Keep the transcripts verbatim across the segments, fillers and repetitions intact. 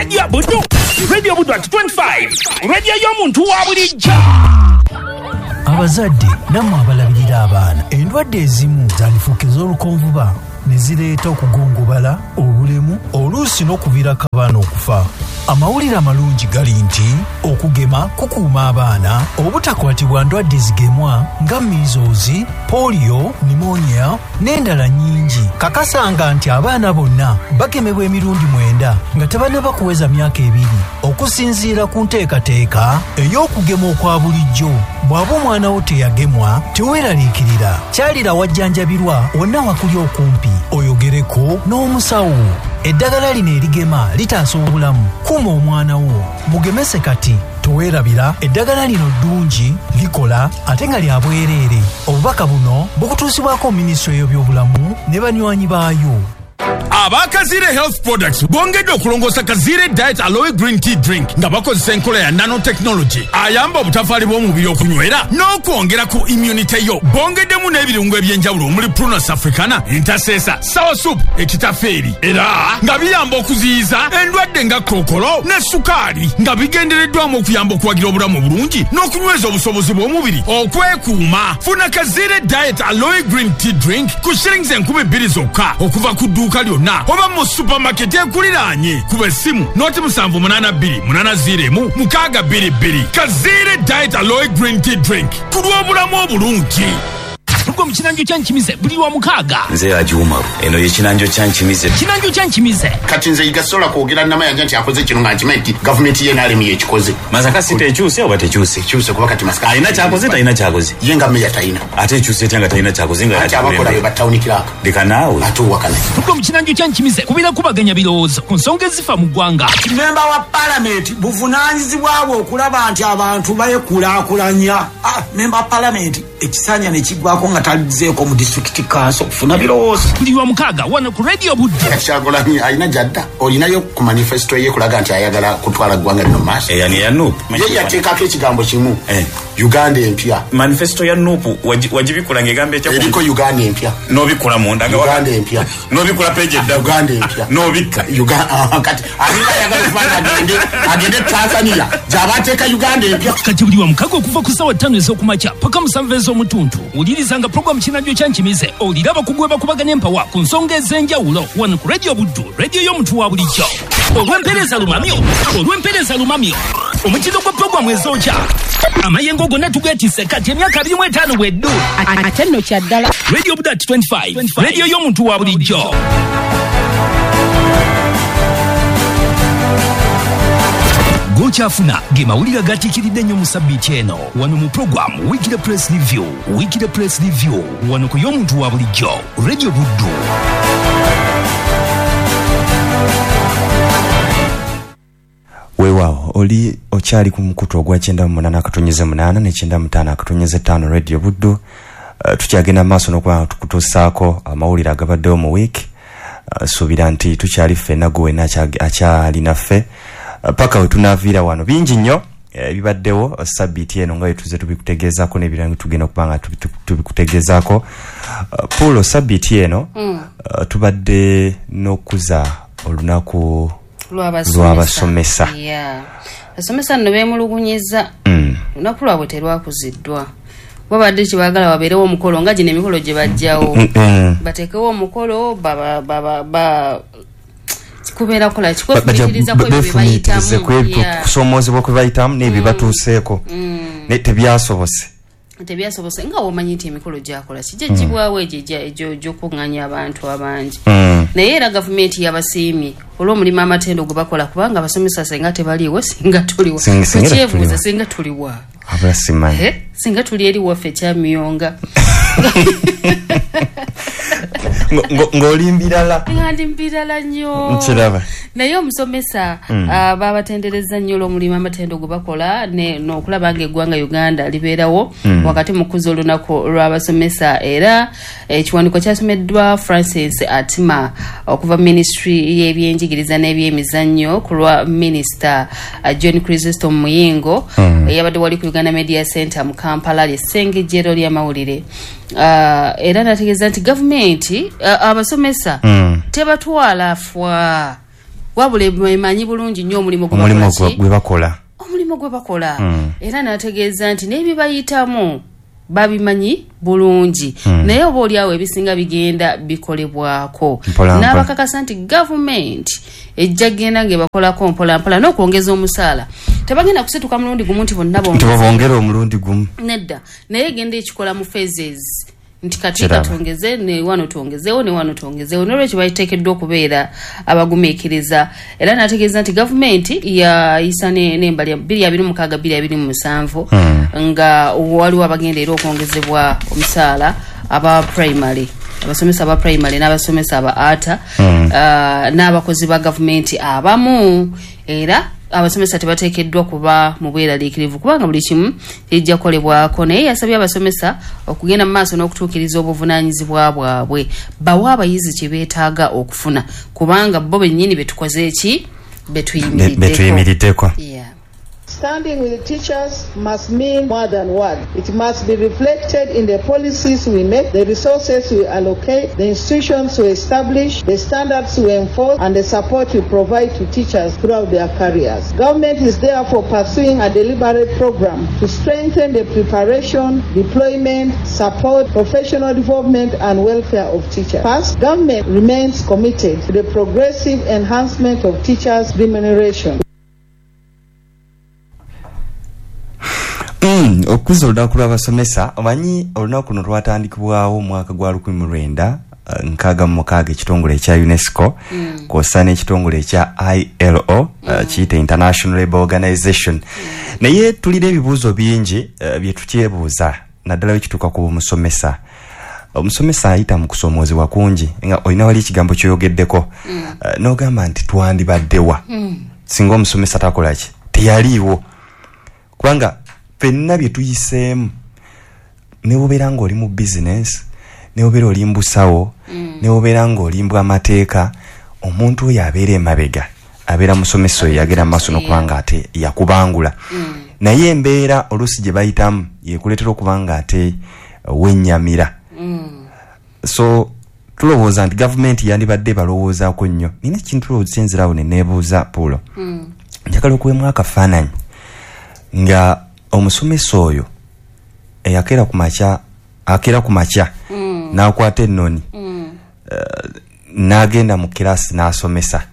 Radio Buddu, Radio Buddu at twenty-five, radio y'omuntu wa bulijjo. Abazadde nammwe abalabirira abaana, endwadde ezimu zandifuuka ez'olukonvuba ne zireeta okugongobala, obulemu, oluusi n'okuviirako abaana okufa. Amawulire amalungi gali nti okugema kukuuma abaana obutakwatibwa ndwadde zigemwa nga measles, polio, pneumonia n'endala nnyingi. Kakasanga nti abaana bonna bagemebwa emirundi mwenda nga tebannaba kuweza myaka ebiri okusinziira ku nteekateeka ey'okugema okwa bulijjo. Bw'aba omwana wo teyagemwa, teweeraliikirira. Kyalira wajjanjabirwa wonna wakuli okumpi, oyogereko n'omusawo. Eddagala lino erigema litaasa obulamu. Kuuma omwana wo, mugemese kati. Toweerabira, eddagala lino ddungi, likola ate nga lya bwereere. Obubaka buno bukutuusibwako minisitule y'ebyobulamu ne banywanyi baayo. Aba Kazire Health Products bongedde okulongoosa Kazire Diet Aloe Green Tea Drink nga bakozesa enkola ya nanotechnology ayamba obutafaali bw'omubiri okunywera n'okwongera ku immunity yo. Bongeddemu n'ebirungo eby'enjawulo omuli Prunus africana, entasesa, sour soup, ekitafeeri, era nga biyamba okuziyiza endwadde nga kookolo ne sukaali, nga bigendereddwamu okuyamba okuwagira obulamu obulungi n'okunyweza obusobozi bw'omubiri okwekuuma. Funa Kazire Diet Aloe Green Tea Drink ku shillings enkumi bbiri zokka okuva ku dduuka lyonna oba mu supermarket ekuliraanye. Kuba essimu noti musanvu munaana bbiri munaana ziro emu mukaaga bbiri bbiri. Kazire Diet Aloe Green Tea Drink ku lw'obulamu obulungi. Tuko mu kinanjo kya Nkimize buli wa mukaaga. Nze Haji Umaru, eno ye kinanjo kya Nkimize. Kinanjo kya Nkimize. Kati nze igasobola kwogera Namayanja nti akoze kino nga nkimanyi nti gavumenti ye N R M yekikoze. Masaka si tekyuse oba tekyuse? Ekyuse kuba kati Masaka alina kyakoze, talina kyakoze. Ye nga meya talina. Ate ekyuse etya nga talina kyakoze nga ate abakola be ba town clerk. Leka naawe. Ate owakana. Tuko mu kinanjo kya Nkimize kubeera kubaganya birowoozo ku nsonga ezifa mu ggwanga. Memba wa palamenti buvunaanyizibwa bwe okulaba nti abantu beekulaakulanya. Ah, memba wa palamenti ekisanja ne kiggwako nga talizeeko mu district council kufuna birowoozo. Buli wa mukaaga wano ku Radio Buddu. Kyagulanyi alina gy'adda, olinayo ku manifesto ye kulaga nti ayagala kutwala ggwanga lino mu maaso. Eya ni ya N U P. Ye yateekako ekigambo kimu, Eh. Uganda empya. Manifesto ya N U P wagibikula ng'egamba etya? Eriko Uganda empya. N'obikula munda nga Uganda empya. N'obikula page edda. Uganda empya. N'obikka. Uganda kati alinga ayagala okufaanana agende agende Tanzania gy'aba ateeka Uganda empya. Kati buli wa mukaaga okuva ku ssaawa ttaano ez'okumakya paka musanvu ez'omutuntu wulirizanga pulogulaamu Kinanjo kya Nkimize owulire abakugu bwe bakubaganya empawa ku nsonga ez'enjawulo wano ku Radio Buddu, radio y'omuntu wa bulijjo. Olw'empeereza lumamyo, olw'empeereza lumamyo, omutindo gwa pulogulaamu ezookya amayengo gonna tugeetisse kati emyaka abiri mu etaano bweddu. Ate nno kya ddala. Radio Buddu at twenty-five, radio y'omuntu wa bulijjo. Gokyafuna ge mawulire agatiikiridde ennyo mu sabbiiti eno wano mu pulogulaamu Weekly Press Review. Weekly Press Review wano ku y'omuntu wa bulijjo, Radio Buddu. Weewaawo oli okyali ku mukutu ogwa kyenda mu munaana akatonyeze munaana ne kyenda mu ttaano akatonyeze ttaano Radio Buddu. Uh, tukyagenda mu maaso n'okuba nga tukutuusaako amawulire agabaddewo mu wiiki. Uh, suubira nti tukyali ffenna, gwe wenna akyali naffe uh, paka we tunaaviira wano. Bingi nnyo ebibaddewo eh, sabbiiti eno nga bwe tuzze tubikutegeezaako n'ebirala tugenda okuba nga tubikutegeezaako. Uh, Pulo, sabbiiti eno mm. uh, tubadde n'okuza olunaku lw'abasomesa. Yeah. Abasomesa nno beemulugunyiza. Mm. Olunaku lwabwe terwakuziddwa. Babadde kyebaagala wabeerewo omukolo nga gino emikolo gye bajjawo. Mm -mm. Bateekewo omukolo baba baba ba kubeera kukola ki? Kwefumiitiriza ku ebyo bye bayitamu. Yeah. Kusoomoozebwa kwe bayitamu n'ebyo batuuseeko. Mm. Naye tebyasobose. Tebyasobose nga womanyi nti emikolo gyakola ki? Gigibwawo egyo egyo gy'okuŋŋaanya abantu abangi. Mm. Naye era gavumenti yabasiimye olw'omulimu amatendo gwe bakola kubanga abasomesa singa tebaliiwo singa tuliwa. Tukyebuuza singa tuliwa. Abula simanyi. Eh? Singa tuli eri waffe Kyamiyonga. Ng'oli mbirala. Nga ndi mbirala nnyo. Nkiraba. Naye omusomesa Mm. uh, babatendereza nnyo olw'omulimu amatendo gwe bakola n'okulaba ng'eggwanga Uganda libeerawo Mm. wakati mu kukuza olunaku lw'abasomesa. Era ekiwandiiko kyasomeddwa Francis Atima okuva ministry y'ebyenjigiriza n'ebyemizannyo ku lwa minisita uh, John Chrysostom Muyingo Mm. eyabadde wali ku Uganda Media Center mu Kampala ly'essengejjero ly'amawulire. Uh, era nategeeza nti gavumenti uh, abasomesa Mm. tebatwala fwa Wabula emanyi bulungi nnyo omulimu gwe Omulimu bakola gwe ki? gwe bakola. Omulimu gwe bakola. Mm. Era n'ategeeza nti n'ebibayitamu babimanyi bulungi. Mm. Naye oba oliawo ebisinga bigenda bikolebwako. Mpola mpola. N'abakakasa nti gavumenti ejja kugenda ng'ebakolako mpola mpola n'okwongeza omusaala. Tebagenda kusituka mulundi gumu nti bonna Nti bongeze. babongere omulundi gumu. Nedda, naye egenda ekikola mu phases nti kati Kiraba. katwongeze ne wano twongezeewo ne wano twongezeewo, nolwekyo bateekeddwa okubeera abagumiikiriza. Era n'ategeeza nti gavumenti yayisa ne- n'embali bbiri abiri mukaaga bbiri abiri mu musanvu Mm. nga waliwo abagenda era okwongezebwa omusaala, aba primary, abasomesa aba primary n'abasomesa aba ata Mm. uh, n'abakozi ba gavumenti abamu. Era abasomesa tebateekeddwa kuba mu bweraliikirivu kubanga buli kimu kijja kukolebwako. Naye yasabye abasomesa okugenda mu maaso n'okutuukiriza obuvunaanyizibwa bwabwe, bawe abayizi kye beetaaga okufuna, kubanga bo bennyini betukoze eki betuyimiriddeko. Betuyimiriddeko. Yeah. Standing with the teachers must mean more than words. It must be reflected in the policies we make, the resources we allocate, the institutions we establish, the standards we enforce, and the support we provide to teachers throughout their careers. Government is therefore pursuing a deliberate program to strengthen the preparation, deployment, support, professional development, and welfare of teachers. First, government remains committed to the progressive enhancement of teachers' remuneration. Mm, okukuza olunaku lw'abasomesa, omanyi olunaku luno lwatandikibwawo omwaka gwa lukumi mu lwenda eh, nkaaga mu mukaaga, ekitongole ekya UNESCO Mm. kw'ossa n'ekitongole ekya I L O, eh, kiyite International Labour Organization. Naye tulina ebibuuzo bingi eh, bye tukyebuuza, naddala bwe kituuka ku musomesa. Omusomesa ayita mu kusoomoozebwa kungi, nga olina wali ekigambo kyoyogeddeko Eh, n'ogamba nti twandibaddewa singa omusomesa takola ki, teyaliiwo, kubanga ffenna bye tuyiseemu, ne bwobeera ng'oli mu bizinesi, ne bwobeera oli mu busawo, ne bwobeera ng'oli mu bw'amateeka, omuntu oyo abeera emabega abeera musomesa oyo yagenda mu maaso n'okuba nga ate yakubangula. Naye embeera oluusi gye bayitamu yekuleetera okuba nga ate wennyamira. So tulowooza nti gavumenti yandibadde balowoozaako nnyo. Nina ekintu kyenzirawo ne neebuuza, Puulo. Njagala okuwemu akafaananyi nga omusomesa oyo eyakeera ku makya, akeera ku makya n'akwata ennoni eh, n'agenda mu kirasi n'asomesa,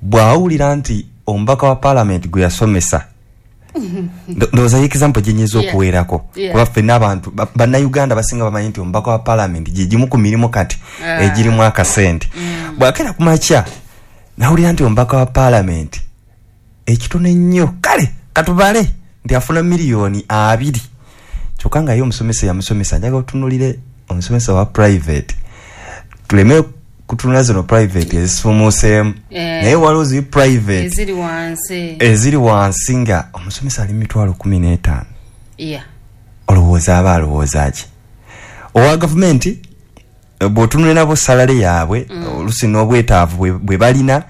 bw'awulira nti omubaka wa paalamenti gwe yasomesa. Ndo- ndowooza ye example gyenyinza Yeah. okuweerako, Yeah. kuba ffenna abantu ba- bannayuganda basinga bamanyi nti omubaka wa paalamenti gye gimu ku mirimu kati Ah. egirimu akasente. Bw'akeera ku makya n'awulira nti omubaka wa paalamenti ekitono ennyo, kale katubale nti afuna miliyoni abiri, kyokka nga ye omusomesa yamusomesa. Njagala otunulire omusomesa wa private, tuleme kutunula zino private ezisumuuseemu, Eh. naye waliwo zi private eziri wansi, eziri wansi nga omusomesa ali mitwalo kumi n'etaano. Yeah. Olowooza aba alowooza ki owa gavumenti? eh, bw'otunula nabo salary yaabwe, oluusi n'obwetaavu bwe- bwe balina,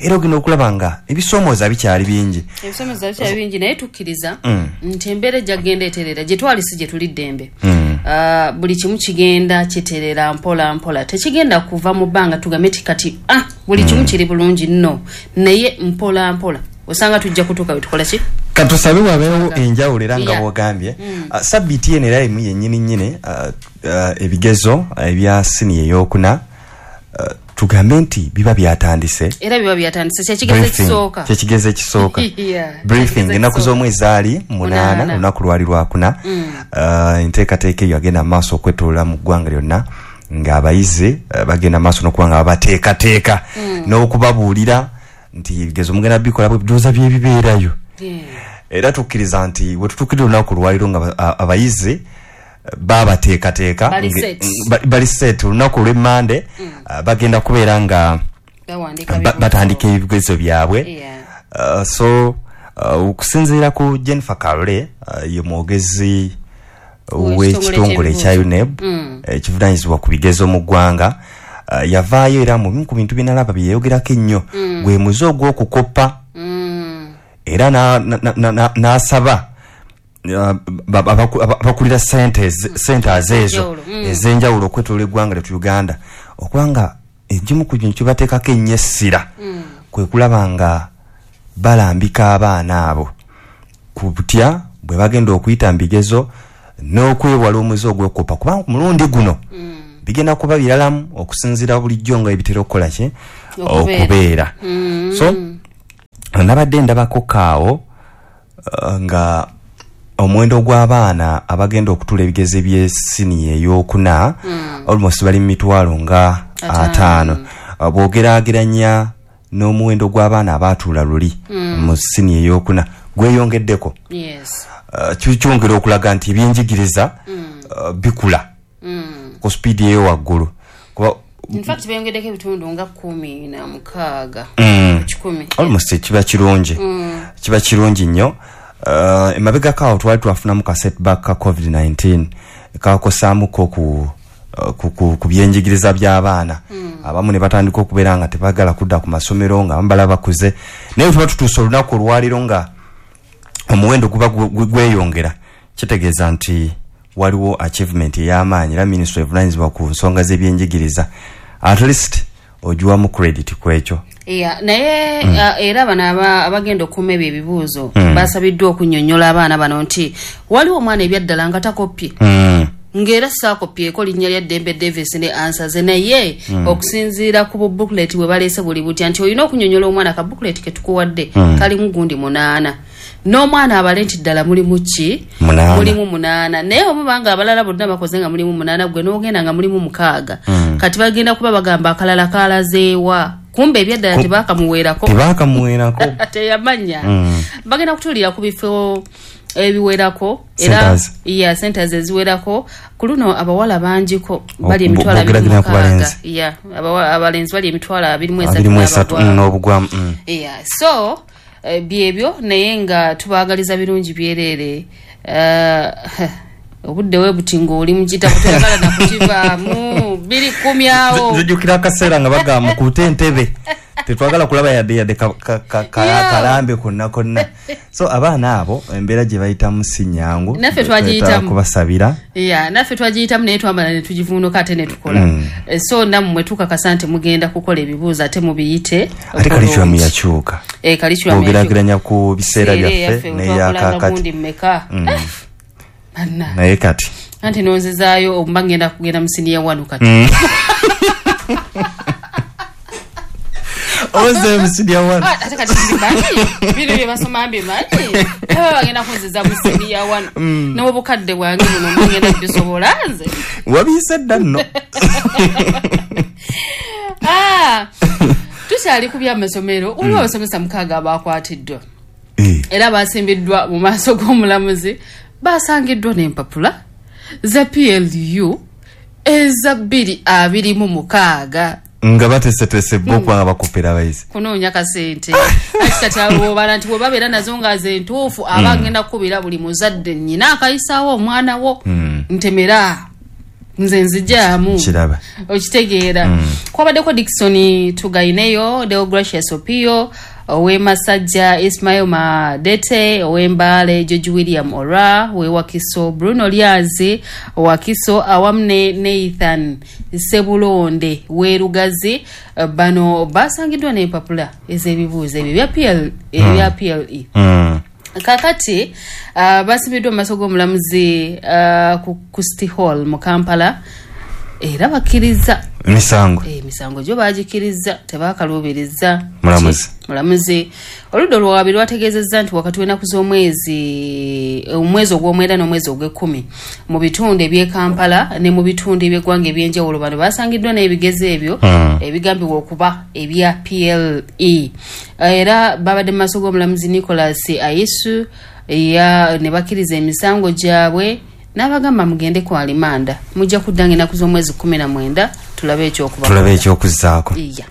era ogenda okulaba nga ebisoomooza bikyali bingi. Ebisomesa bikyali bingi, naye tukkiriza Mm. nti embeera ejja kugenda eterera. Gye twali si gye tuli ddembe. Mm. Ah, buli kimu kigenda kiterera mpola mpola, tekigenda kuva mu bbanga tugambe ti kati ah, buli kimu kiri bulungi nno, naye mpola mpola osanga tujja kutuuka bwetukola ki. Katusabe wabeewo enjawulo era nga Yeah. bwogambye. Ah, sabbiiti eno era emu yennyini nnyini, ah, ah, ebigezo ebya siniya eyokuna, ah, tugambe nti biba byatandise. Era biba byatandise, kyekigezo Briefing, ekisooka. Kyekigezo ekisooka. Yeah, briefing kyekigezo ennaku ekisooka. z'omwezi ali munaana, Munaana. olunaku lwali lwakuna. Uh, enteekateeka eyo agenda maaso okwetoloola mu ggwanga lyonna ng'abayizi uh, bagenda maaso n'okuba nga babateekateeka n'okubabuulira nti ebigezo mugenda bikola bwe bidowooza byebibeerayo. Yeah. Era tukkiriza nti we tutuukirira olunaku lwaliro nga ba- a- abayizi eh, babateekateeka Bali nge- set. ba- bali set. Olunaku olw'emmande uh, bagenda kubeera nga bawandiika ba- bibuuzo. batandika ebigezo byabwe. Yeah. Uh, so uh, okusinziira ku Jennifer Kalole, uh, ye mwogezi w'ekitongole ekya UNEB Mm. ekivunanyizibwa ku bigezo mu ggwanga, uh, yavaayo era mu bimu ku bintu byenalaba byeyayogerako ennyo gwe muze ogw'okukoppa. Mm. Era n'asaba na, na, na, n'asaba, uh, ba- ba- abaku- aba- abakulira centers centers ezo Ez'enjawulo, mm. ez'enjawulo okwetoloola eggwanga lyetu Uganda okuba nga egimu ku bintu kyebateekako ennyo essira Kwe kulaba nga balambika abaana abo ku butya bwe bagenda okuyita mu bigezo n'okwewala omuze ogw'okkopa, kubanga ku mulundi guno Mm. bigenda kuba biralamu okusinziira bulijjo nga ebitera okukola ki Okubeera. okubeera. Mm. So nabadde ndabako kaawo uh, nga omuwendo gw'abaana abagenda okutuula ebigezo eby'essiniya ey'okuna Mm. almost bali mu mitwalo nga Ataano. ataano. Uh, bw'ogeraageranya n'omuwendo gw'abaana abaatuula luli Mm. mu siniya ey'okuna gweyongeddeko. Yes. Uh, kyongera okulaga nti ebyenjigiriza Mm. uh, bikula Mm. ku sipiidi eyo waggulu, kuba In fact beyongeddeko ebitundu nga kumi na mukaaga Mm. ku kikumi. Almost kiba kirungi, Mm. kiba kirungi nnyo. Uh, emabegako awo twali twafunamu ka setback ka covid nineteen, kakosaamuko ku, uh, ku, ku, ku byenjigiriza by'abaana Mm. abamu ne batandika okubeera nga tebagala kudda ku masomero nga abamu bala bakuze, naye tuba tutuuse olunaku olwaliro nga omuwendo guba gu- gu- gweyongera, kitegeeza nti waliwo achievement ey'amaanyi, era minisitule evunanyizibwa ku nsonga z'ebyenjigiriza at least ogiwamu credit ku ekyo. Yeah, naye Mm. uh, era bano aba- abagenda okuuma ebyo ebibuuzo Mm. basabiddwa okunnyonnyola abaana bano nti waliwo omwana ebyaddala nga takoppye, mm. ng'era saakopyeko linnya lya Ddembe Davis ne ansaze, naye Mm. okusinziira ku bubooklet bwe baleese buli butya nti olina okunyonyola omwana ka booklet ke tukuwadde Mm. kalimu gundi munaana, n'omwana abale nti ddala mulimu ki? Munaana. Mulimu munaana, naye omuba nga abalala bonna bakoze nga mulimu munaana, gwe n'ogenda nga mulimu mukaaga, Mm. kati bagenda kuba bagamba akalala kalazeewa, kumbe ebyaddala Ku- tebakamuweerako. Tebakamuweerako. Teyamanya. Mm. Bagenda kutuulira ku bifo ebiwerako era Centers. ya centers eziwerako. Ku luno abawala bangiko bali Bo- emitwalo abiri mu bw'ogeraageranya ku mukaaga. balenzi. Ya, abawa- abalenzi bali emitwalo abiri mu esatu abiri mu esatu n'abagwamu. mm, n'obugwamu mm. Yeah, so eh, byebyo, naye nga tubaagaliza birungi byereere. Eh, obudde we buti ng'oli mu kitabo toyagala nakukivaamu biri kumi awo. Nzijukira akaseera nga bagamba mukuute entebe, tetwagala kulaba yadde yadde ka- ka- ka- ka- Yeah. kalambe konna konna. So abaana abo embeera gye bayitamu si nyangu. Naffe twagiyitamu. Twetaaga kubasabira. Ya, naffe twagiyitamu, naye twamala ne tugivuunuka ate ne tukola. Mm. Eh, so nammwe tukakasa nti mugenda kukola ebibuuzo ate mubiyite. Ate curriculum yakyuka. Eh, curriculum yakyuka. Bw'ogeraageranya ku biseera Biseera byaffe eyaffe, twakolanga n'eyakakati. gundi mmeka? Mm. Banna. Naye kati Anti nonzizaayo omuba ngenda kugenda mu siniya wano kati. Mm. Oze mu siniya wano. Ah, ate kati mbimanyi, bino bye basoma mbimanyi, aba bagenda kunziza mu siniya wano. Mm. N'obukadde bwange buno mba ngenda kubisobola nze? Wabiise dda nno. Ah, tukyali ku byamasomero, waliwo Mm. abasomesa mukaaga abakwatiddwa Eh. era basimbiddwa mu maaso g'omulamuzi, basangiddwa n'empapula za P L U eza bbiri abiri mu mukaaga. Nga bateeseteese bo okubanga bakopera abayizi. Kunoonya kasente. Ati kati abo nti bwe babeera nazo nga ze ntuufu, aba Mm. agenda kukubira buli muzadde nnyina akayisaawo omwana wo, Mm. ntemera nze nzijaamu. Kiraba. Okitegeera? Mm. Kwabaddeko Dickson Tugaineyo, Deogracius Opio ow'emasajja, Ismail Madete ow'embaale, George William Ora wewakiso, Bruno Lyazi Wakiso, awamu ne Nathan Sebulonde werugazi. Bano basangiddwa n'empapula ez'ebibuuzo ebyo ebya P L ebya P L E. Mm. Kakati uh, basimbiddwa mu maaso g'omulamuzi uh, ku, ku City Hall mu Kampala era bakkiriza Emisango. Emisango gyo bagikiriza, tebakaluubiriza. Mulamuzi. Mulamuzi. Oludda olwawabi lwategeezezza nti wakati w'ennaku z'omwezi omwezi ogw'omwenda n'omwezi ogw'ekkumi mu bitundu eby'e Kampala ne mu bitundu eby'eggwanga ebyenjawulo, bano basangiddwa n'ebigezo ebyo Hmm. ebigambibwa okuba ebya P L E, era babadde mu maaso g'omulamuzi Nicholas Aisu ya ne bakkiriza emisango gyabwe n'abagamba mugende ku alimanda, mujja kuddanga ennaku z'omwezi kumi na mwenda tulabe ekyokuba. Tulabe ekyokuzzaako. Iya.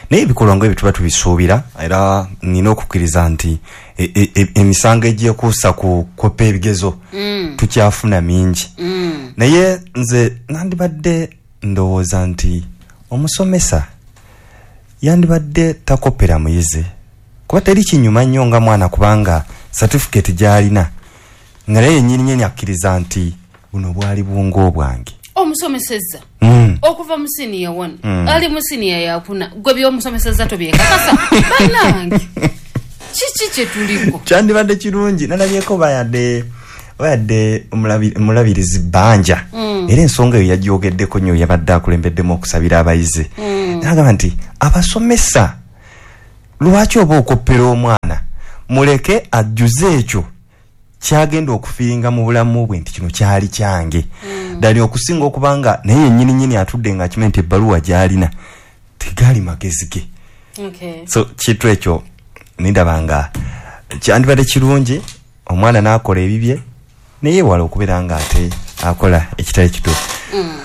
Naye ebikolwa nga ebyo tuba tubisuubira, era nina okukkiriza nti e- e- e- emisango egyekuusa ku kopa ebigezo Mm. tukyafuna mingi. Mm. Naye nze nandibadde ndowooza nti omusomesa yandibadde takopera muyizi, kuba teri kinyuma nnyo nga mwana kubanga certificate gy'alina nga naye yennyini nyini akkiriza nti buno bwali bwongo bwange. Omusomesezza. Mm. Okuva mu senior one. Mm. Ali mu senior yakuna. Gwe by'omusomeseza tobyekakasa. Bannange. Kiki kye tuliko? Kyandibadde kirungi nalabyeko bayadde bayadde omulabirizi Banja. Mm. Era ensonga eyo yagyogeddeko nnyo, yabadde akulembeddemu okusabira abayizi. Mm. N'agamba nti abasomesa lwaki oba okoppera omwana, muleke ajjuze ekyo kyagenda okufiiringa mu bulamu bwe nti kino kyali kyange. Mm. Ddala okusinga okubanga naye yennyini nnyini atudde nga akimanyi nti ebbaluwa gy'alina tegaali magezi ge. Okay. So kintu ekyo nindaba nga kyandibadde kirungi omwana n'akola ebibye naye yeewala okubeera nga ate akola ekitali kituufu. Mm.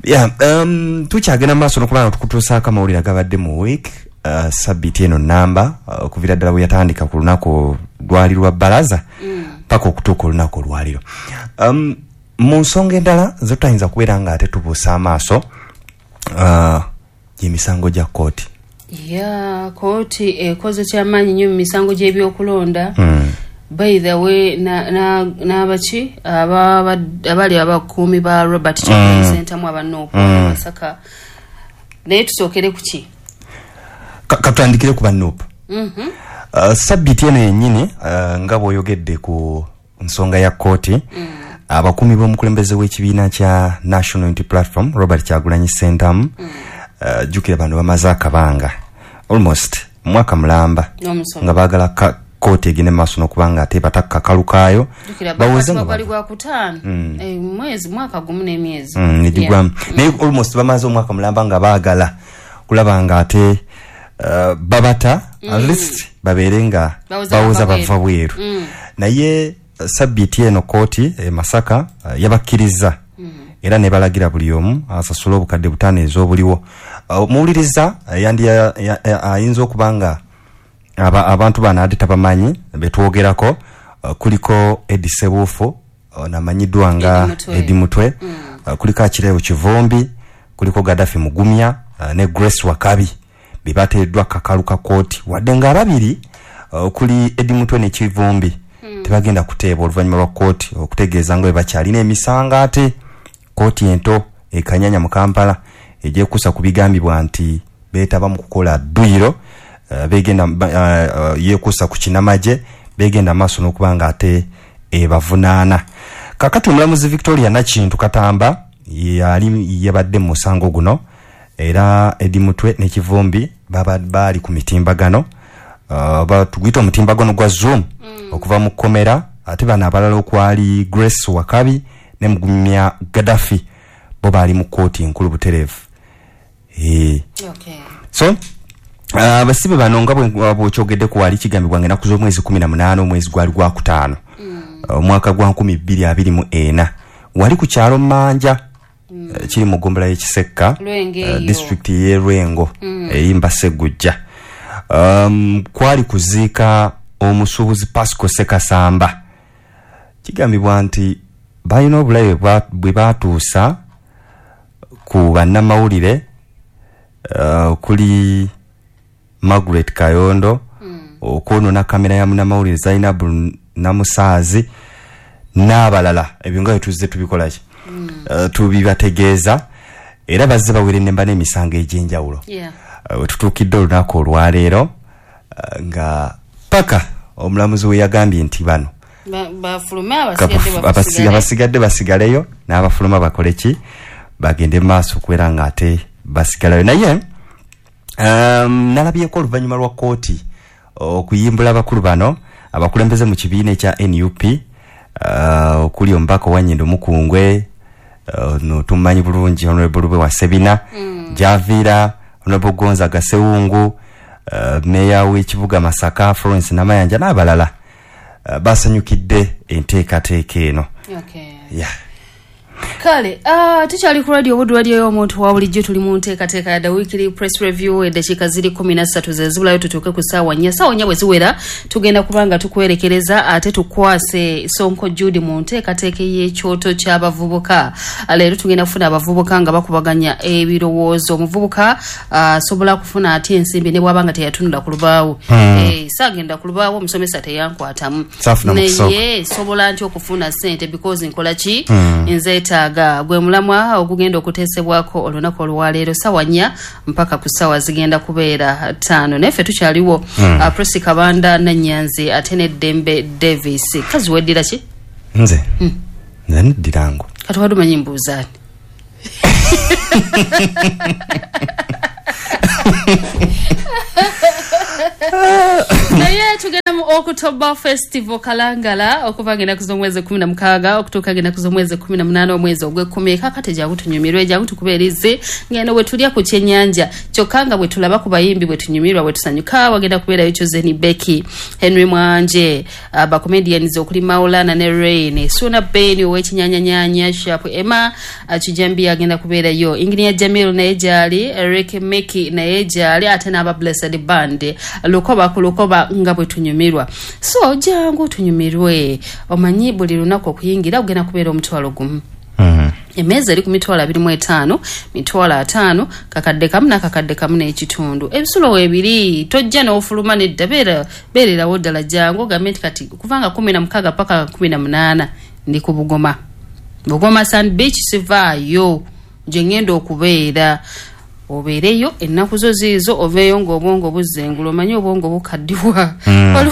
Yeah, um, tukyagenda mu maaso n'okuba nga tukutuusaako amawulire agabadde mu week uh, sabbiiti eno namba uh, okuviira ddala bwe yatandika ku lunaku lwali lwa bbalaza Mm. paka okutuuka olunaku olwaliro. Um, mu nsonga endala ze tutayinza kubeera nga ate tubuusa amaaso uh, gy'emisango gya kkooti. Ya, kooti ekoze kyamaanyi nnyo mu misango gy'ebyokulonda. Mm. By the way, n'abaki abali abakuumi ba Robert Kyagulanyi Mm. Ssentamu aba N U P Mm. Masaka. Naye tusookere ku ki? Ka- Katutandikire ku ba N U P. Mhm. Uh, sabbiiti eno yennyini uh, nga bw'oyogedde ku nsonga ya kkooti, Mm. abakuumi b'omukulembeze w'ekibiina kya National Unity Platform Robert Kyagulanyi Ssentamu, Mm. uh, jjukira bano bamaze akabanga almost mwaka mulamba N'omusomo. nga baagala kkooti egende mu maaso n'okuba nga ate batakka kakalu kaayo Jjukira bawoze bakwatibwa nga gwali bava. gwa kutaano. Mm. Eh, mwezi mwaka gumu n'emyezi. Mm, negigwamu. Yeah. Naye almost bamaze omwaka mulamba nga baagala kulaba nga ate uh, babata Mm. at least babeere nga Bawoza bawoza bava bava bweru. Mm. Naye uh, sabbiiti eno kkooti e Masaka uh, yabakkiriza Mm. era ne balagira buli omu asasule obukadde butaano ez'obuliwo. Uh, muwuliriza uh, yandi ya- ya- ya- ayinza okuba nga aba, abantu bano ate tabamanyi betwogerako, uh, kuliko Eddie Sebuufu ono amanyiddwa nga Eddie Mutwe. Eddie Mutwe, Mm. uh, kuliko Akireo Kivumbi, kuliko Gaddafi Mugumya uh, ne Grace Wakabi be bateereddwa kakalu ka kkooti, wadde nga ababiri uh, kuli Eddie Mutwe ne Kivumbi Mm. tebagenda kuteebwa oluvannyuma lwa kkooti okutegeeza nga bwe bakyalina emisango ate kkooti ento e Kanyanya mu Kampala egyekuusa ku bigambibwa nti beetaba mu kukola dduyiro, uh, begenda uh, uh, yeekuusa ku kinamagye, begenda maaso n'okuba nga ate ebavunaana. Kaakati omulamuzi Victoria Nakintu Katamba yali yabadde mu musango guno, era Eddie Mutwe ne Kivumbi baba baali ku mitimbagano, uh, batuguyita omutimbagano gwa Zoom Mm. okuva mu kkomera, ate bano abalala okwali Grace Wakabi ne Mugumya Gaddafi bo baali mu kkooti enkulu butereevu. Eh. Okay. So abasibe uh, bano nga bw'okyogedde ku wali kigambibwa nga ennaku z'omwezi kumi na munaana omwezi gwali gwakutaano omwaka gwa nkumi bbiri abiri mu ena wali ku kyalo Mmanja, Mm. eh, kiri mu ggombolola y'e Kisekka, Lwengo eh, eyo. disitulikiti y'e Lwengo Mm. eyimba Ssegujja. Um, kwali kuziika omusuubuzi Pasco Ssekasamba. Kigambibwa nti balina obulabe bwa- bwe baatuusa ku bannamawulire, uh, okuli Margaret Kayondo, okwonoona kamera ya munnamawulire Zainabu Namusaazi n'abalala. Ebyo nga bwe tuzze tubikola ki, uh, tubibategeeza, era bazze bawerennemba n'emisango egy'enjawulo. Yeah. Uh, we tutuukidde olunaku olwaleero uh, nga paka omulamuzi we yagambye nti bano Ba- bafulume abasigadde abasi- basigale. abasigadde basigaleyo n'abafuluma bakole ki, bagende mu maaso okubeera nga ate basigalayo. Naye um, nalabyeko oluvannyuma lwa kkooti okuyimbula abakulu bano abakulembeze mu kibiina ekya N U P, uh, okuli omubaka owa Nnyendo Mukungwe, uh, no tumumanyi bulungi Honorable Lube wa Sebina, Mm. Javiira, Honorable Gonzaga Sewungu, uh, meeya w'ekibuga Masaka Florence Namayanja n'abalala, uh, basanyukidde enteekateeka eno. Okay. Yeah. Kale, ah, tukyali ku radio Buddu, radio y'omuntu wa bulijjo, tuli mu nteekateeka ya The Weekly Press Review. Eddakiika ziri kumi na ssatu ze zibulayo tutuuke ku ssaawa nnya. Ssaawa nnya bwe ziwera tugenda kuba nga tukwerekereza ate tukwase Sonko Jude mu nteekateeka y'ekyoto ky'abavubuka. Leero tugenda kufuna abavubuka nga bakubaganya ebirowoozo. Omuvubuka asobola ah, kufuna atya ensimbi ne bw'aba nga teyatunula ku lubaawo. Hmm. Eh, saagenda ku lubaawo, omusomesa teyankwatamu. Saafuna mu kusooka. Naye sobola ntya okufuna ssente because nkola ki? Hmm. Nze Tukwetaaga gwe mulamwa ogugenda okuteesebwako olunaku olwaleero sawa nnya mpaka ku sawa zigenda kubeera ttaano. Naye ffe tukyaliwo mm. uh, Prossy Kabanda Nanyanzi ate ne Dembe Davis. Kazi weddira ki? Nze mm. Nze neddirango. Kati wadde omanyi mbuuzaani? Naye tugenda mu October Festival Kalangala okuva ng'ennaku z'omwezi kumi na mukaaga okutuuka ng'ennaku z'omwezi kumi na munaana omwezi ogw'ekkumi. Kaakati jangu tunyumirwe, jangu tukubeerize ng'eno bwe tulya ku kyennyanja kyokka nga bwe tulaba ku bayimbi bwe tunyumirwa bwe tusanyuka. Wagenda kubeerayo Chosen Becky, Henry Mwanje, abacomedians okuli Maulana ne Rain, Suna Ben ow'ekinyanyanyanya, Sharp Emma Kijambi agenda kubeerayo, Engineer Jamil naye gyali, Eric Meki naye gyali, ate n'aba Blessed Band lukoba ku lukoba nga bwe tunyumirwa. So jangu tunyumirwe. Omanyi buli lunaku okuyingira ogenda kubeera omutwalo gumu. Mm. Emmeeza eri ku mitwalo abiri mu etaano, mitwalo ataano, kakadde kamu n'akakadde kamu n'ekitundu. Ebisulo weebiri, tojja n'ofuluma nedda, beera beererawo ddala, jangu ogambe nti kati okuva nga kumi na mukaaga paka kumi na munaana ndi ku Bugoma. Bugoma Sand Beach sivaayo gye ngenda okubeera. Obeereyo ennaku zo ziizo, oveeyo ng'obwongo buzengula. Omanyi obwongo bukaddiwa. Mm.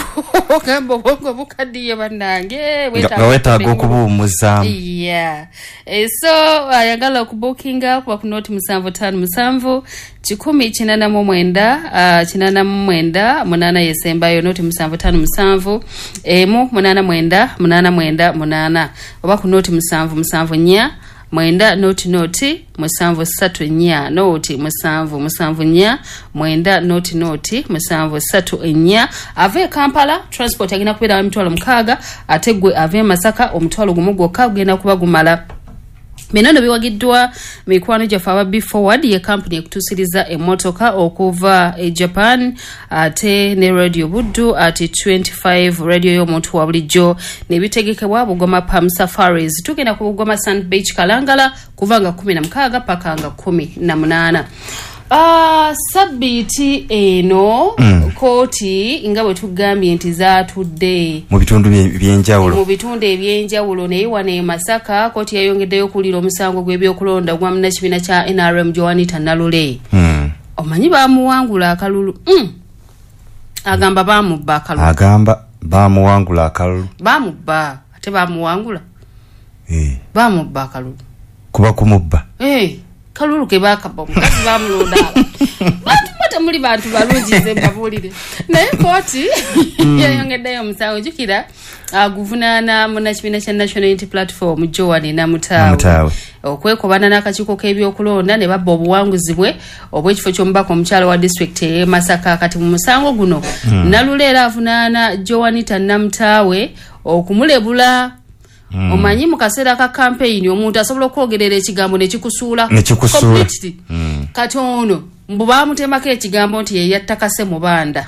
Ogamba obwongo bukaddiye bannange, nga weetaaga okubuwummuzaamu. Yeah. E, so ayagala okubukinga kuba ku noti musanvu ttaano musanvu kikumi kinaana mu mwenda uh, kinaana mu mwenda munaana yesembayo, noti musanvu ttaano musanvu emu munaana mwenda munaana mwenda munaana, oba ku noti musanvu musanvu nnya mwenda noti noti musanvu ssatu nnya noti musanvu musanvu nnya mwenda noti noti musanvu ssatu nnya. Ava e Kampala transport agenda kubeera emitwalo mukaaga, ate gwe ava e Masaka omutwalo gumu gwokka gugenda kuba gumala. Bino nno biwagiddwa mikwano gyaffe aba Be Forward, ye kampuni ekutuusiriza emmotoka okuva e Japan, ate ne Radio Buddu ati twenty-five radio y'omuntu wa bulijjo, ne bitegekebwa Bugoma Palm Safaris. Tugenda ku Bugoma Sand Beach Kalangala kuva nga kumi na mukaaga paka nga kumi na munaana. Uh, sabbiiti eno mm. kooti nga bwe tugambye nti zaatudde mu bitundu ebyenjawulo mu bitundu ebyenjawulo, naye wano e Masaka kooti yayongeddeyo okuwulira omusango gw'ebyokulonda gwa munnakibiina kya N R M Joanita Nalule. mm. Omanyi baamuwangula akalulu. mm. Agamba baamubba akalulu. Agamba baamuwangula akalulu. Baamubba ate baamuwangula. Eh. Baamubba akalulu. Kuba kumubba. Eh. Kalulu ke bakaba omukazi bamulonda. Bantu mwe temuli bantu balungi nze mbabuulire. Naye kooti yayongeddeyo omusango, jjukira aguvunaana munnakibiina kya National Unity Platform Joan Namutaawe okwekobana n'akakiiko k'ebyokulonda ne babba obuwanguzi bwe obw'ekifo ky'omubaka omukyala wa disitulikiti ey'e Masaka. Kati mu musango guno mm. Nalule era avunaana Joanita Namutaawe okumulebula. Mm. Omanyi mu kaseera ka campaign omuntu asobola okwogerera ekigambo ne kikusuula ne kikusuula. Mm. Kati ono mbu baamutemako ekigambo nti ye yatta Kase Mubanda.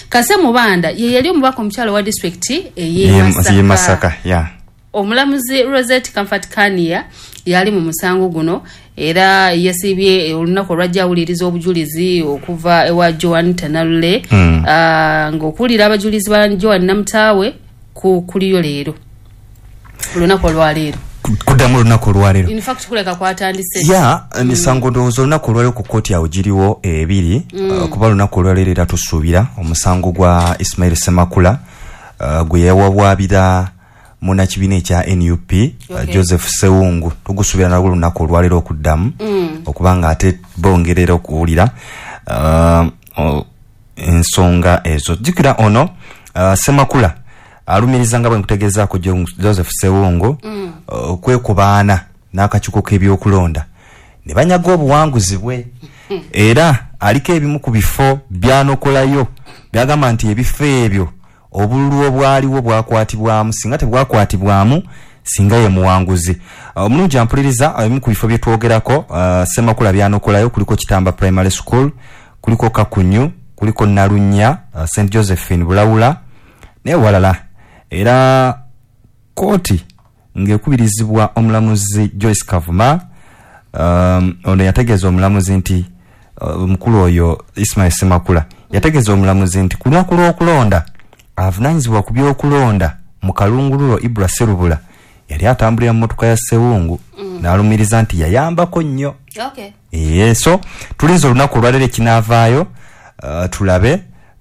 Kase Mubanda ye yali omubaka omukyala wa disitulikiti ey'e Masaka. Yeah. Omulamuzi Rosette Comfort Kania yali mu musango guno era yasiibye olunaku olwajja awuliriza obujulizi okuva ewa Joan Nalule. Mm. uh, ng'okuwulira abajulizi ba Joan Namutaawe ku kuliyo leero olunaku olwaleero kuddamu olunaku olwaleero. In fact kuleka kwatandise ya emisango ndowooza olunaku olwaleero ku kkooti awo giriwo ebiri. Mm. Uh, kuba olunaku olwaleero era tusuubira omusango gwa Ismail Semakula uh, gwe yawabwabira munnakibiina ekya N U P okay. uh, Joseph Sewungu tugusuubira nalwo olunaku olwaleero okuddamu mm. okubanga ate bongerera okuwulira uh, uh, ensonga ezo. Jjukira ono uh, Semakula alumiriza nga bwe nkutegeezaako Joseph Sewungu mm. okwekubaana n'akakiiko k'ebyokulonda ne banyaga obuwanguzi bwe era aliko ebimu ku bifo byanokolayo byagamba nti ebifo ebyo obululu obwaliwo bwakwatibwamu, singa tebwakwatibwamu singa ye muwanguzi. Omulungi ampuliriza, ebimu ku bifo bye twogerako uh, Semakula byanokolayo kuliko Kitamba Primary School, kuliko Kakunyu, kuliko Nalunya, uh, Saint Josephine Bulawula newalala. Era kooti ng'ekubirizibwa omulamuzi Joyce Kavuma, um, ono yategeeza omulamuzi nti omukulu uh, oyo Ismail Semakula yategeeza omulamuzi nti ku lunaku lw'okulonda avunaanyizibwa ku by'okulonda mu kalungululo Ibra Serubula Yali atambulira mu mmotoka ya Ssewungu mm. n'alumiriza nti yayambako nnyo. Okay. E, so tulinze olunaku olwaleero ekinaavaayo, uh, tulabe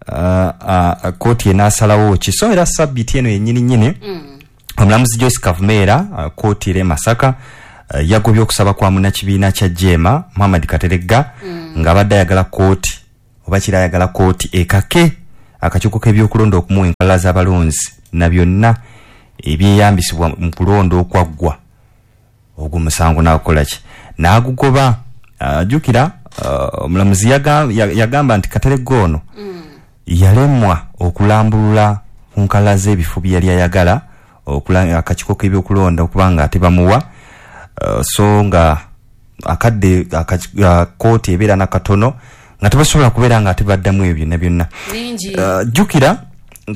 uh, uh, kooti enaasalawo ki. So era sabbiiti eno yennyini nnyini mm. omulamuzi Joyce Kavumera uh, kooti era e Masaka uh, yagobye okusaba kwa munnakibiina kya Jeema Muhammad Kateregga mm. ng'abadde ayagala kooti oba kira ayagala kooti ekake akakiiko k'ebyokulonda okumuwa enkalala z'abalonzi na byonna ebyeyambisibwa mu kulonda okwaggwa. Ogwo musango n'akola ki? N'agugoba. Jjukira uh, omulamuzi yagamba nti Kateregga ono mm. yalemwa okulambulula ku nkalala z'ebifo bye yali ayagala akakiiko k'ebyokulonda okuba nga tebamuwa, uh, so nga akadde uh, kooti ebeera nakatono nga tebasobola kubeera nga tebaddamu ebyo byonna byonna. Jjukira uh,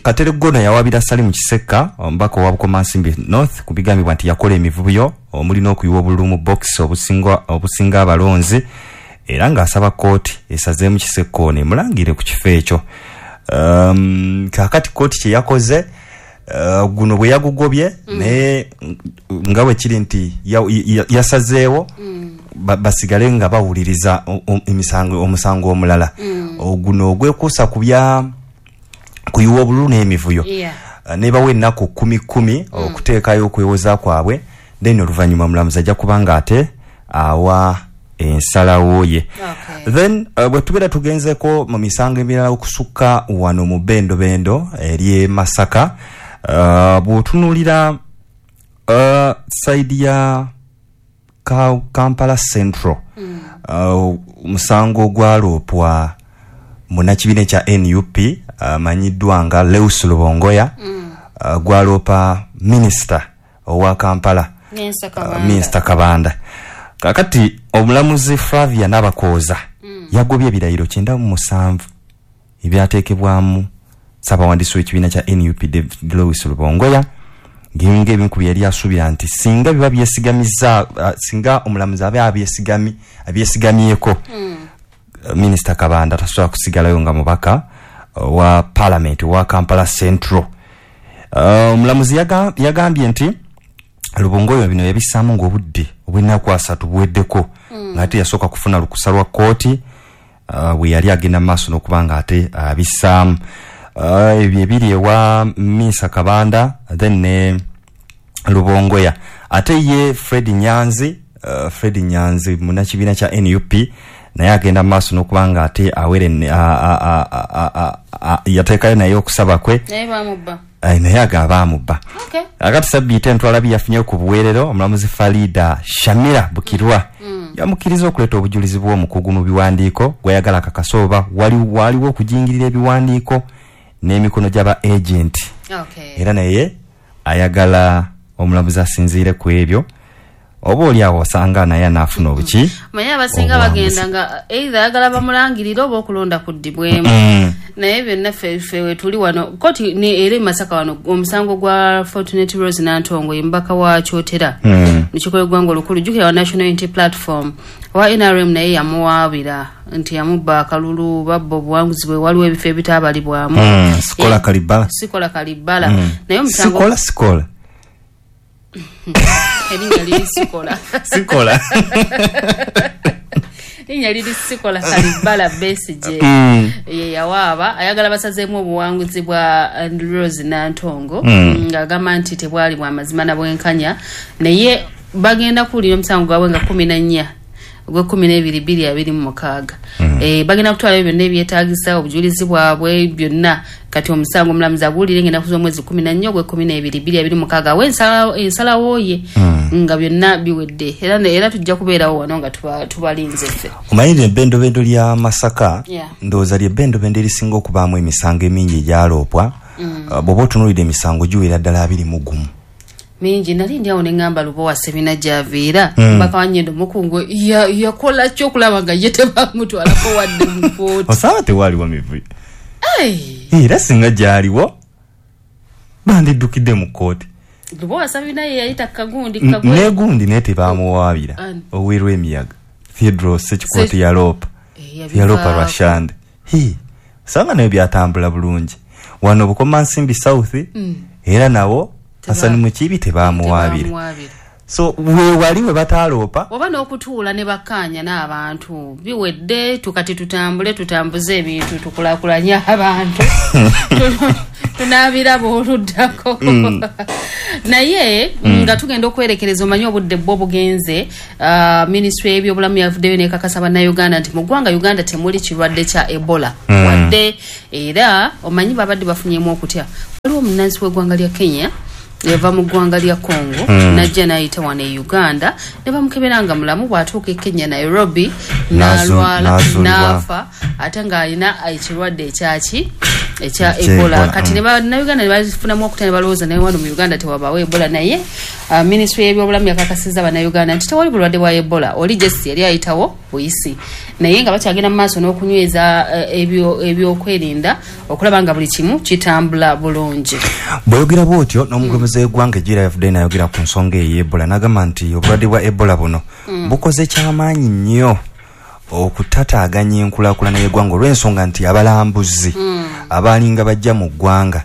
Kateregga ono yawabira Salim Kisekka omubaka owa Bukomansimbi North ku bigambibwa nti yakola emivuyo omuli n'okuyiwa obululu mu box obusinga obusinga abalonzi, era ng'asaba kooti esazeemu Kisekka ono emulangire ku kifo ekyo. Um, kaakati kooti kye yakoze uh, guno bwe yagugobye mm. naye nga bwe kiri nti yasazeewo mm. basigale nga bawuliriza emisango omusango omulala mm. oguno ogwekuusa ku bya kuyiwa obululu n'emivuyo yeah. uh, nebawa ennaku kumi kumi mm. okuteekayo okwewoza kwabwe, then oluvannyuma omulamuzi ajja kuba nga ate awa ensalawo ye. Okay. Then uh, bwe tubeera tugenzeko mu misango emirala okusukka wano mu bendobendo ery'e Masaka, uh, bw'otunuulira uh, sayidi ya Ka Kampala Central mm. uh, omusango gwaloopwa munnakibiina kya N U P amanyiddwa uh, nga Lewis Lubongoya mm. uh, gwaloopa minisita owa Kampala Minisita uh, Kabanda. Kakati omulamuzi Flavia Nabakooza mm. yagobye ebirayiro kyenda mu musanvu ebyateekebwamu ssabawandiisi w'ekibiina kya N U P David Lewis Lubongoya, ng'ebimu ebimu ku bye yali asuubira nti singa biba byesigamiza uh, singa omulamuzi aba abyesigami abyesigamyeko mm. Minisita Kabanda tasobola kusigalayo nga mubaka wa Parliament wa Kampala Central. Omulamuzi uh, yagambye nti Lubongoya bino yabissaamu ng'obudde obw'ennaku asatu buweddeko mm. ng'ate yasooka kufuna lukusa lwa kkooti uh, bwe yali agenda mu maaso n'okuba ng'ate abissaamu. uh, ebyo ebiri ewa Minisita Kabanda then ne Lubongoya. Ate ye Fred Nyanzi, uh, Fred Nyanzi munnakibiina kya N U P naye agenda mu maaso n'okuba nga ate awere yateekayo naye okusaba kwe naye bamubba naye agaba bamubba. Okay. Akati sabbiiti entwalabi yafunye ku buweerero omulamuzi Farida Shamira Bukirwa mm. yamukkiriza okuleeta obujulizi bw'omukugu mu biwandiiko gw'ayagala akakasa oba waliwo okujingirira ebiwandiiko n'emikono gy'aba agent. Okay. Era naye ayagala omulamuzi asinziire ku ebyo oba oli awo osanga naye anaafuna obuki. Manye abasinga bagenda nga either ayagala bamulangirire oba okulonda kuddibwemu mm. naye byonna ffe ffe wetuli wano kooti ne era e Masaka wano omusango gwa Fortunate Rose Nantongo ye mubaka wa Kyotera mm. mu kiiko lw'eggwanga olukulu, jjukira wa National Unity Platform wa N R M naye yamuwaabira nti yamubba akalulu babba obuwanguzi bwe, waliwo ebifo ebitaabalibwamu mm. Sikola Kalibbala Sikola Kalibbala mm. naye omusango Sikola Sikola erinnya liri Sikola Sikola linnya liri Sikola Kalibbala Besigye mm. ye yawaaba ayagala basazeemu obuwanguzi bwa Rose Nantongo mm. ng'agamba nti tebwali bwa mazima na bwenkanya, naye bagenda kuwulira omusango gwabwe nga kumi na nnya ogw'ekkumi n'ebiri bbiri abiri mu mukaaga. Mm. Eh, bagenda kutwalayo byonna ebyetaagisa obujulizi bwabwe byonna. Kati omusango omulamuzi aguwulire ng'ennaku z'omwezi kumi na nnya ogw'ekkumi n'ebiri bbiri abiri mu mukaaga awe ensalawo ye mm. nga byonna biwedde. Era era tujja kubeerawo wano nga tubalinze ffe. Omanyi ebbendobendo lya Masaka yeah. ndowooza lye bbendobendo erisinga okubaamu emisango emingi egyaloopwa mm. uh, bw'oba otunuulidde emisango giwera ddala abiri mu gumu mingi. Nali ndi awo ne ŋŋamba Lubowa Ssebina gy'aviira mm. mbaka wa Nyendo Mukungwe yakola ki okulaba nga ye tebamutwalako wadde mu kkooti. Osanga tewaaliwo mivuyo era singa gyaliwo bandiddukidde mu kkooti. Lubowa Ssebina ye yayita kagundi negundi naye tebamuwaabira owerwa emiyaga Theodore Ssekikooti yaloopa yaloopa Rwashande. Osanga nayo byatambula bulungi wano Bukomansimbi South mm. era nawo Hassan Mukiibi tebamuwaabira. So we wali we bataloopa oba n'okutuula ne bakkaanya n'abantu biwedde, tukati tutambule tutambuze ebintu tukulaakulanye abantu tunaabiraba oluddako. Mm. Naye Mm. nga tugenda okwerekereza, omanyi obudde bwo bugenze. uh, ministry y'ebyobulamu yavuddeyo nekakasa bannayuganda nti mu ggwanga Uganda temuli kirwadde kya Ebola Mm. wadde, era omanyi babadde bafunyemu okutya. Waliwo omunnansi w'eggwanga lya Kenya yava mu ggwanga lya Congo Mm. najja n'ayita wano e Uganda ne bamukebera nga mulamu. Bw'atuuka e Kenya, Nairobi, N'azu- n'alwala n'azuulibwa. n'afa, ate ng'alina ekirwadde ekyaki, ekya Ekya Ebola. Ebola, Kati mm. ne bannayuganda ne bafunamu okutya ne balowooza naye wano mu Uganda tewabaawo Ebola. Naye uh, ministry y'ebyobulamu yakakasizza bannayuganda nti tewali bulwadde bwa Ebola, oli jesi yali ayitawo buyisi, naye nga bakyagenda mu maaso n'okunyweza uh, ebyo- ebyokwerinda okulaba nga buli kimu kitambula bulungi. Bw'oyogera bw'otyo n'omukulembeze w'eggwanga ejira yavuddeyo n'ayogera ku nsonga eyo Ebola, n'agamba nti obulwadde bwa Ebola buno Mm. bukoze kyamaanyi nnyo okutataaganya enkulaakulana y'eggwanga, olw'ensonga nti abalambuzi Mm. abaalinga bajja mu ggwanga,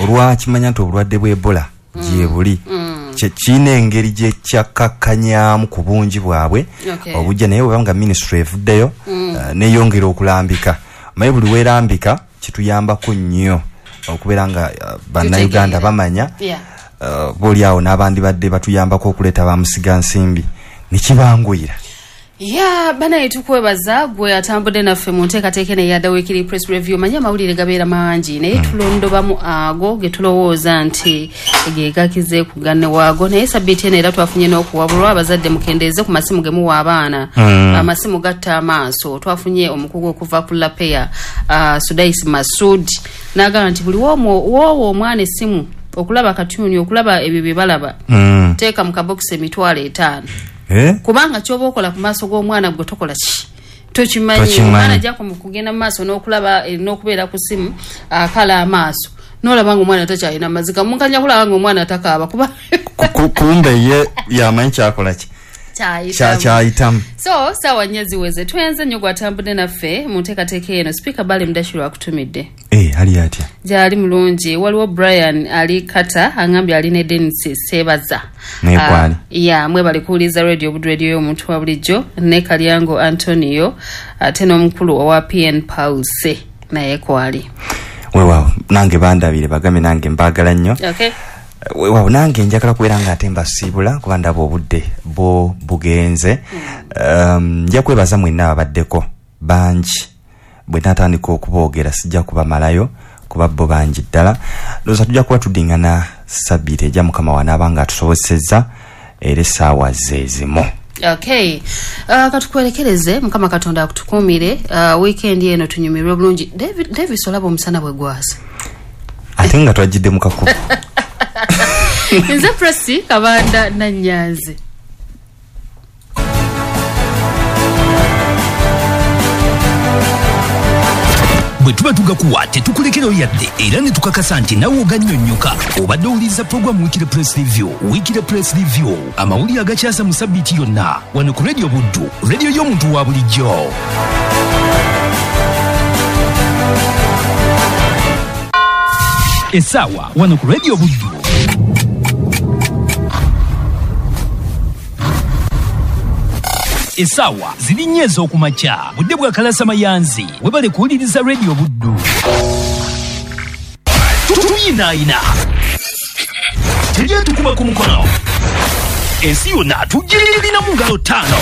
olwakimanya nti obulwadde bwa Ebola gye buli, Mm. kye kirina engeri gye kyakkakkanyaamu ku bungi bwabwe Okay. obujja. Naye bweba nga minisitule evuddeyo Mm. eh, neyongera okulambika, maye buli weerambika kituyambako nnyo okubeera nga eh, bannayuganda Tutegeera. bamanya Yeah. eh, booli awo n'abandibadde batuyambako okuleeta bamusigansimbi nekibanguyira. Ya banaye, tukwebaza gwe atambudde naffe mu nteekateeka eno eya The Weekly Press Review. Manyi amawulire gabeera mangi, naye tulondobamu ago ge tulowooza nti ge gakize ku ganne waago. Naye sabbiiti eno era twafunye n'okuwabulwa: abazadde mukendeeze ku masimu ge muwa abaana. Mm. Amasimu gatta amaaso. Twafunye omukugu okuva ku Lapeya, uh, Sudais Masud, n'agamba nti buli woomu- woowa omwana essimu okulaba katuni, okulaba ebyo bye balaba, Mm. teeka mu kabokisi emitwalo etaano, Eh? kubanga kyoba okola ku maaso g'omwana gwe tokola ki, tokimanyi. Tokimanyi. Omwana ajja ku- kugenda mu maaso n'okulaba eh, n'okubeera ku simu, akala amaaso n'olaba nga omwana takyalina maziga, mukanya kulaba nga omwana takaaba kuba Ku- ku- kumbe ye yamanyi kyakola ki. Kyayitamu. Kyayitamu. So saawa nnya ziweze. Tweyanze nnyo gwatambudde naffe mu nteekateeka eno. Sipiika Bale Mudashiru akutumidde. Eh, ali atya? Gyali mulungi. Waliwo Brian ali Kata angambye ali ne Denis Sebaza. Naye kwali. Ah, ya mwebale kuwuliriza Radio Buddu, radio y'omuntu wa bulijjo, ne Kalyango Antonio, ate n'omukulu owa P N Pulse naye kwali. Weewaawo, nange bandabire, bagambe nange mbaagala nnyo. Okay. Weewaawo, nange njagala kubeera nga ate mbasiibula kuba ndaba obudde bwo bugenze. um, nja kwebaza mwenna ababaddeko bangi. Bwe natandika okuboogera sijja kubamalayo kuba bo bangi ddala. Ndowooza tujja kuba tuddingana sabbiiti ejja, Mukama wanaaba nga atusobosezza, era essaawa ze zimu. Okay, uh, katukwerekereze. Mukama Katonda akutukuumire. uh, weekend eno tunyumirwe bulungi. David, Davis, olaba omusana bwe gwase. Ate nga twajjidde mu kakubo. Nze Presi Kabanda Nanyanzi. Bwe tuba tugakuwa tetukulekerayo yadde, era ne tukakasa nti nawe ogannyonnyoka. Obadde owuliriza puroguramu Weekly Press Review. Weekly Press Review, amawulire agakyasa mu sabbiiti yonna, wano ku Radio Buddu, radio y'omuntu wa bulijjo. Essaawa wano ku Radio Buddu essaawa ziri nnya ez'okumakya, budde bwa Kalasa Mayanzi. Webale kuwuliriza Radio Buddu. Tuyinaayina, teryetukuba ku mukono, ensi yonna tugirina mu ngalo ttaano.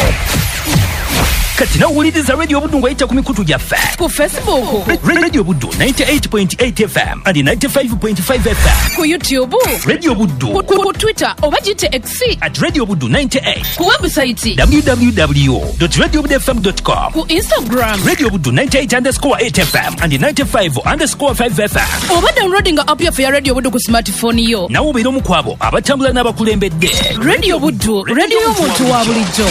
Kati nawuliriza Radio Buddu ng'oyita ku mikutu gyaffe: ku Facebook, Radio Buddu ninety-eight point eight F M and ninety-five point five F M, ku YouTube, Radio Buddu, ku, ku, ku Twitter oba gite X at Radio Buddu ninety-eight, ku website w w w dot radio buddu f m dot com, ku Instagram Radio Buddu ninety-eight underscore eight F M and ninety-five underscore five F M, oba downloadinga app yaffe ya Radio Buddu ku smartphone yo. Nawe obeera omu ku abo abatambula n'abakulembedde. Radio Buddu, radio y'omuntu wa bulijjo.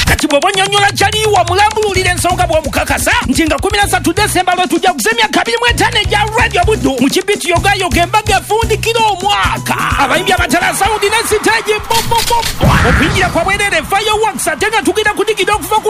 Kati bw'oba onyonnyola kyaliwa, mulambululira ensonga bw'omukakasa nti nga kumi na ssatu Desemba lwe tujja kuza emyaka abiri mu etaano egya Radio Buddu mu kibiti yogayoga, embaga efundikira omwaka, abayimbi abatala, sound ne siteegi, okuyingira kwa bwerere, fireworks, ate nga tugenda kudigida okuva ku